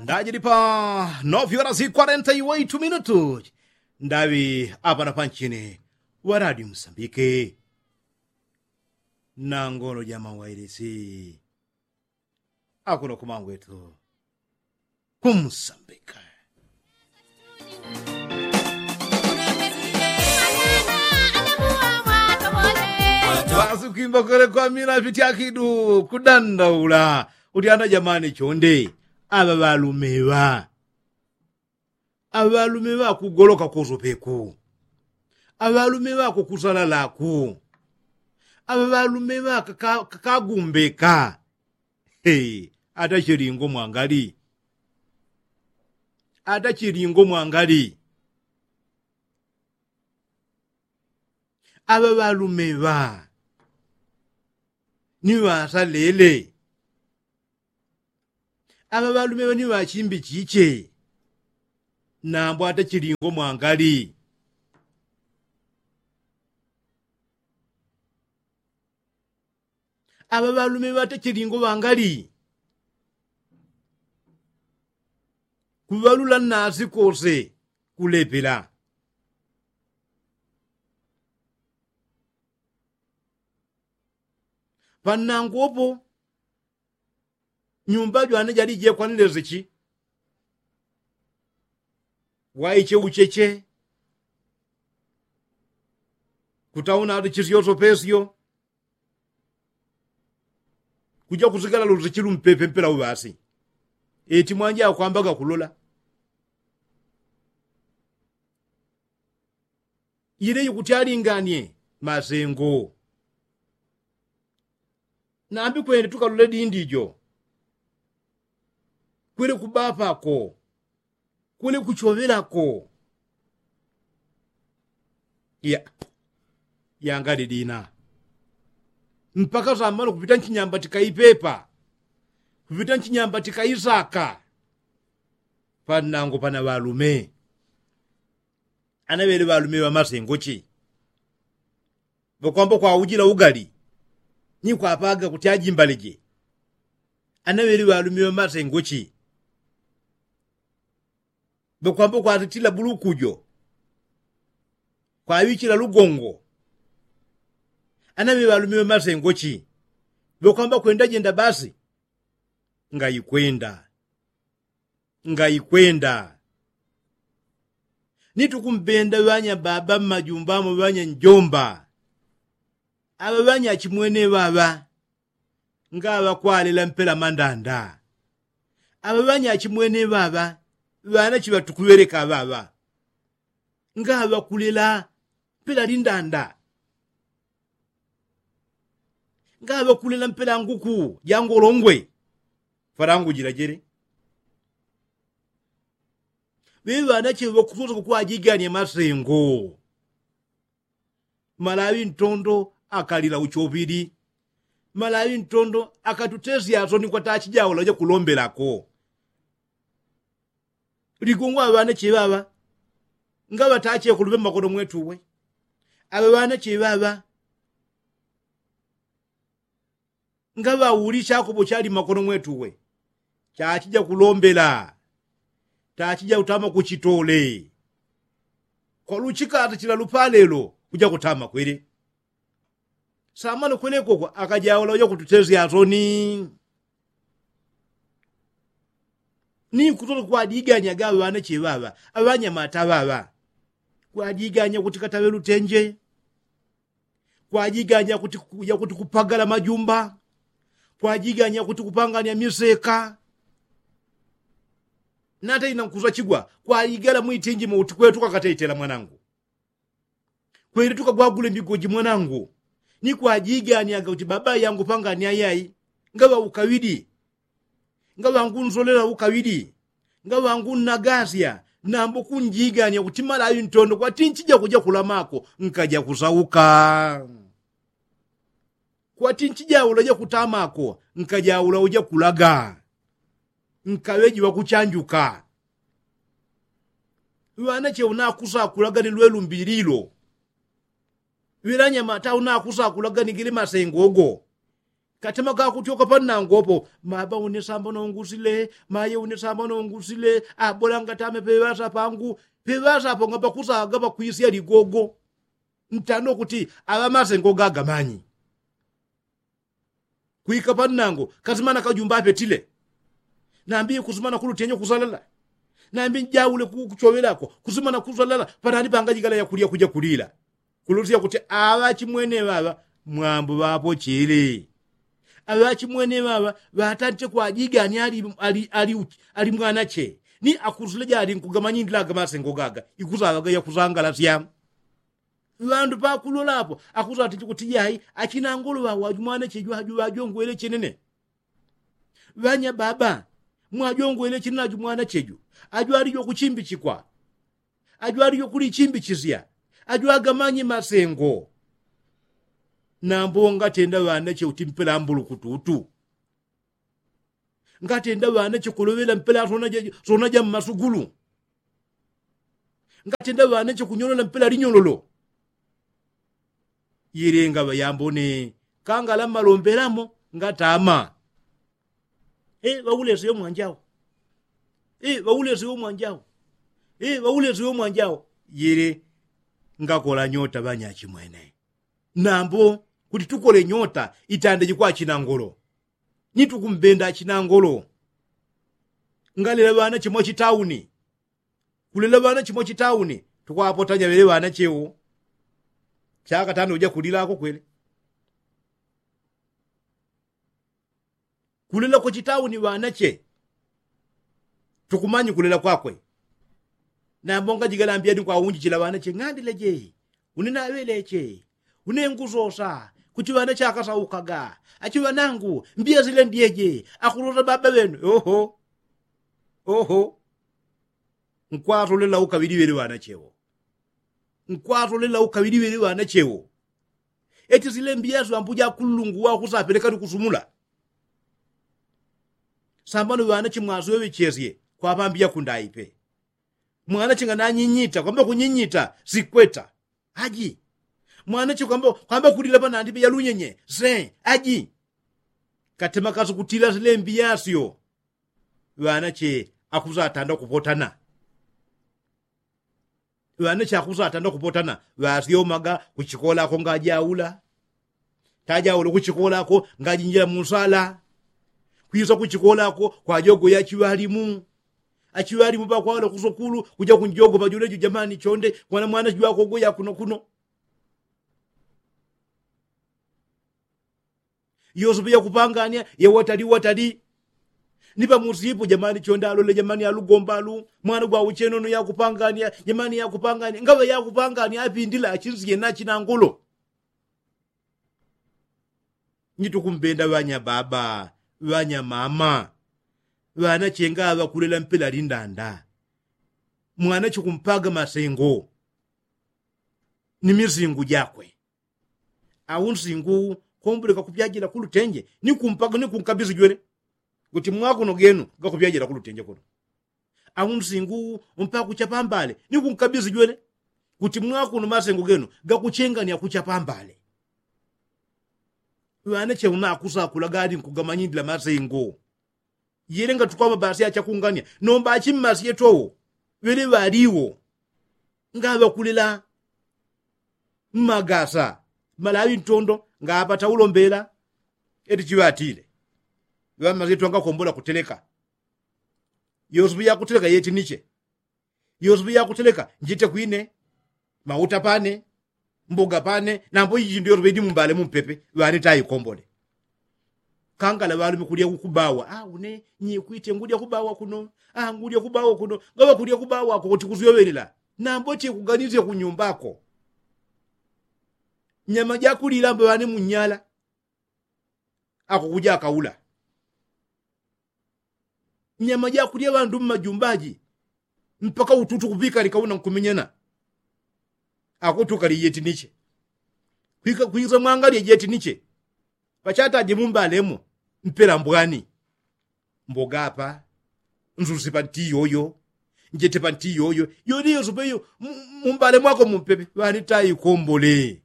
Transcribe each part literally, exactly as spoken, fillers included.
Ndajili pa novyola zikwarenta iwaitu minutu. Ndaŵi apana panchini wa radio msambike na ngolo ja mawailisi akuno kumangwetu kumsambika. Basi kwimba kole kwamina fiti akidu kudandaula kuti ana jamani chonde aŵa ŵalume ŵa aŵalume ŵakugoloka kosopeku aŵalume ŵakukusalalaku aŵaŵalume ŵa kakagumbeka. Atachilingo mwangali atachilingo mwangali aŵaŵalume ŵa ni ŵasalele aŵaŵalume ŵa ni ŵachimbi chiche nambo atachilingo mwangali aŵaŵalume ŵatachilingo ŵangali kuŵalula nnasi kose kulepela pannangopo nyumba jwane jalije kwanile zichi waiche ucheche kutauna ati chisyoso pesyo kuja kusigala luzichi lumpepe mpela uŵasi eti mwanja akwambaga kulola ile yikutyalinganie masengo nambi kwene tukalole dindi jo kwele kubapako kwele kuchoŵelako ya yangali dina mpaka samano kupita nchinyamba tikaipepa kupita nchinyamba tikaisaka pannango pana ŵalume anaŵele ŵalume ŵamasengo chi ŵakwamba kwaujila ugali ni kwapaga kuti ajimbaleje anaŵele ŵalume ŵamasengo chi ŵakwamba kwatitila bulukujo kwaŵichila lugongo anaŵele ŵalume ŵamasengo chi ŵakwamba kwenda jenda basi ngaikwenda ngaikwenda ni tukumbenda ŵanya baba mmajumba mo ŵanya njomba aŵa ŵanya achimwene ŵaŵa ngaŵa kwalela mpela mandanda aŵa ŵanya achimwene ŵaŵa ŵana chiŵatukuŵeleka ŵaŵa ngaŵa kulela mpela lindanda ngaŵa kulela mpela nguku jangolongwe falangu jila jele ŵeŵana cheŵe ŵakusosa kukwajigania masengo malaŵi ntondo akalila uchoŵili malaŵi ntondo akatutesya asoni kwatachijaula uja kulombelako ligongo aŵa ŵana cheŵaŵa ngaŵa tachekuluŵe mmakono mwetuwe aŵa ŵana cheŵaŵa ngaŵauli chakopo chali mmakono mwetuwe chachija kulombela tachija kutama kuchitole kwaluchikata chila lupalelo kuja kutama kwele samano kwelekoko akajaula uja kututesya asoni ni kutola kwajiganya gaŵa ŵana cheŵaŵa aŵanyamata ŵaŵa kwajiganya kuti kataŵe lutenje kwajiganya kuti kupagala majumba kwajiganya kuti kupangania miseka nata ina nkusachigwa kwajigala mwitinji mouti kwetu kakatetela mwanangu kweli tukagwagule mbigoji mwanangu ni kwajiganiaga kuti baba yangu pangania yai ngaŵa ukaŵidi ngaŵa ngunzolela ukaŵidi ngaŵa ngunnagasya nambo kunjigania kuti malaŵi ntondo kwati nchija kuja kulamako nkaja kusauka kwati nchijaula uja kutamako nkajaula uja kulaga nkaŵeji ŵakuchanjuka ŵanache unakusakulaga ni lwelumbililo ŵelanyamata unakusakulaga ni gili masengogo Katema kakutyoka pannangopo, maba unisamba nongusile, maye unisamba nongusile. Abola ngatame peŵasa pangu. Peŵasa apo ngapakusaga pakwisya ligogo. Ntano kuti aŵa masengo gagamanyi. Kwika pannango kasimana kajumba apetile. Nambi kusumana kulutenyo kusalala. Nambi njaule kuchoŵelako kusumana kusalala. Panani pangajigala yakulya kuja kulila. Kulusya kuti aŵa chimwene ŵaŵa mwambo ŵapochele. Aŵa chimwene ŵaŵa ŵatante kwajigani ali ali ali ali mwanache. Ni akusule jali nkugamanyindila agamasengo gaga ikusaŵaga yakusangalasya. Ŵandu pakulolapo akusatiti kuti jai achinangolo ŵawo ajumwanache jwaju ŵajongwele chenene. Ŵanya baba, mwajongwele chenene ajumwanacheju. Ajwalijo kuchimbichikwa. Ajwalijo kulichimbichisya. Ajwagamanye masengo. Nambo ngatenda ŵanache uti mpela mbulukututu. Ngatenda ŵanache kuloŵela mpela sona ja mmasugulu. Ngatenda ŵanache kunyolola mpela linyololo. Yele ngaŵa yambone kangala mmalombelamo ngatama. Ŵauleseyo mwanjao. Ŵauleseyo mwanjao. Ŵauleseyo mwanjao. Yele ngakola nyota ŵanyachimwene. Nambo kuti tukole nyota itande jikwachina ngolo. Ni tukumbenda achina ngolo. Ngalela ŵanache mwachitauni. Kulela ŵanache mwachitauni. Tukwapotanya ŵele ŵanache wo. Chakatano uja kulilako kwele. Kulela kwachitauni ŵanache. Tukumanyi kulela kwakwe. Nambo ngajigalambiyani kwaunjichila ŵanache ng'andile je. Une naŵeleche. Une ngusosa. Kuti ŵanache akasaukaga. Achiŵanangu mbiya sile ndyeje. Akusosa baba ŵenu oho. Oho. Nkwasolela ukaŵili ŵele ŵanache wo. Nkwasolela ukaŵili ŵele ŵanache wo. Eti sile mbiya syo ambuja akulungu wakusapeleka ni kusumula. Sambano ŵanache mwasoŵechesye kwapambiya kundaipe. Mwanache ngananyinyita kwamba kunyinyita sikweta. Aji. Mwanache kwamba kulila panandipe yalunyenye se aji. Katema kasu kutila silembi yasyo. Ŵanache akusatanda kupotana. Ŵanache akusatanda kupotana. Ŵasyomaga kuchikolako ngajaula. Tajaula kuchikolako ngajinjila munsala. Kwisa kuchikolako kwajogo yachiŵalimu. Achiŵalimu pakwala kusukulu kuja kunjogo pajulejo jamani chonde. Mwana mwana jwakogo yakuno kuno. Yosope yakupangania yewatali watali. Ni pamusipo jamani chonde alole jamani alugombalu. Mwana gwauchenono yakupangania jamani yakupangania ngaŵa yakupangania apindila achinsiye nachina ngolo. Nyitukumbenda ŵanya baba ŵanya mama. Ŵanache ngaŵa kulela mpela lindanda. Mwanache kumpaga masengo. Ni misingu jakwe. Au nsingu komboleka kupyajila kulutenje ni kumpaka ni kunkabisi jwele. Kuti mwakuno genu gakupyajila kulutenje kuno. Au nsingu mpaka kuchapa mbale ni kunkabisi jwele. Kuti mwakuno masengo genu gakuchengania kuchapa mbale. Ŵanache unakusakula gali nkugamanyindila masengo. Yele ngatukwamba basi achakungania nomba achimmasye towo. Ŵele ŵaliwo ngaŵakulela mmagasa malaŵi ntondo ngapata ulombela. Eti chiŵatile ŵammasye towo ngakombola kuteleka. Yosupu yakuteleka yeti niche. Yosupu yakuteleka njite kwine mauta pane mboga pane. Nambo iji jindu yosope idi mumbale mumpepe ŵane taikombole. Kangala ŵalume kulya kubawa a une nyikwite ngulya kubawa kuno. A ngulya kubawa kuno ngaŵa kulya kubawa ako kuti kusyoŵelela. Nambo tikuganisye kunyumbako. Nyama jakulila mbo ŵane munyala ako kuja akaula. Nyama jakulya ŵandu mmajumbaji mpaka ututu kuŵikalika una nkumenyana. Akutukali jeti niche kwisa mwangalye jeti niche. Pachataje mumbalemo mpela mbwani. Mboga apa nzusi panti yoyo njete panti yoyo. Yoni yosope iyo mumbalemo ako mumpepe ŵani taikombole.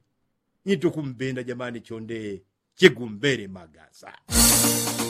Nyitukumbenda jamani chonde. chigumbele magasa.